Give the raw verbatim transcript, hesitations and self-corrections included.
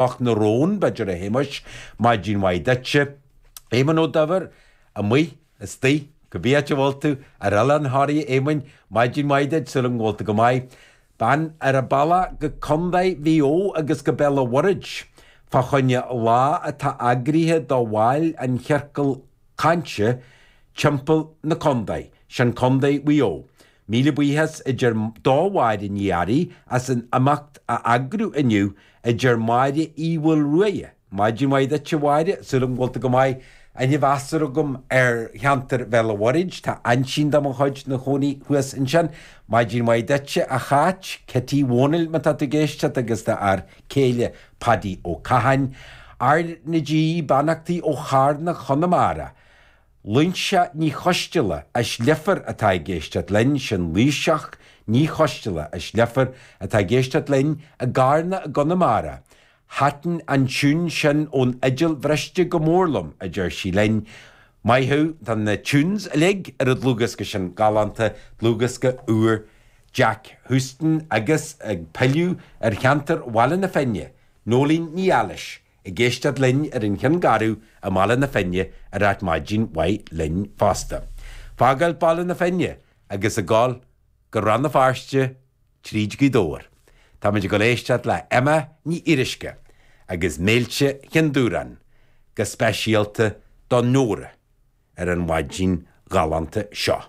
Cnoc na Rón, b'fhéidir a Shéamais, maidin mhaith duitse. Éamonn Ó Duibhir, amuigh, istigh, cibé áit a bhfuil tú, ar Oileán Thoraí a Éamoinn, maidin mhaith duit, súil agam go bhfuil tú go maith. Bean ar a bealach go Contae Mhaigh Eo agus go Béal an Mhuirthead fá choinne lá atá eagraithe do bhaill an chiorcail cainte timpeall na contae, sin Contae Mhaigh Eo. Míle buíochas a deir do Mháire Ní Fhearraigh as an imeacht a eagrú inniu a deir Máire Uí Mhaolruaidhe. Maidin mhaith duit a Mháire, súil agam go bhfuil tú go maith. Aithne mheasartha agam ar cheantar Bhéal an Mhuirthead, tá aintín de mo chuid 'na chónaí thuas ansin. Maidin mhaith duitse a Cháit, Cití Dhónaill má tá tú ag éisteacht agus do fhear céile Paddy Ó Catháin. R na G, beannachtaí ó Charna Chonamara. Loingseach Ní Choisteala as Leifear atá ag éisteacht linn, sin Laoiseach Ní Choisteala as Leifear atá ag éisteacht linn i gCarna i gConamara. Thaitin an tiún sin ón fhidil bhriste go mór liom, a deir sí linn. Maith thú, tá na tunes uilig ar an dlúthdhiosca sin galánta, dlúthdhiosca úr Jack Houston agus ag pilleadh ar cheantar Bhaile na Finne, Nóirín Ní Fhailís. Ag éisteacht linn ar an Chionn Garbh i mBaile na Finne ag ráit maidin mhaith linn fosta. Fágáil Baile na Finne agus ag gabháil go Rann na Feirste tríd Gaoth Dobhair. Táimid ag dul éisteacht le Emma Ní Fhíoruisce agus Méilte Chinn Dúráin go speisialta do Nóra ar an mhaidin ghalánta seo.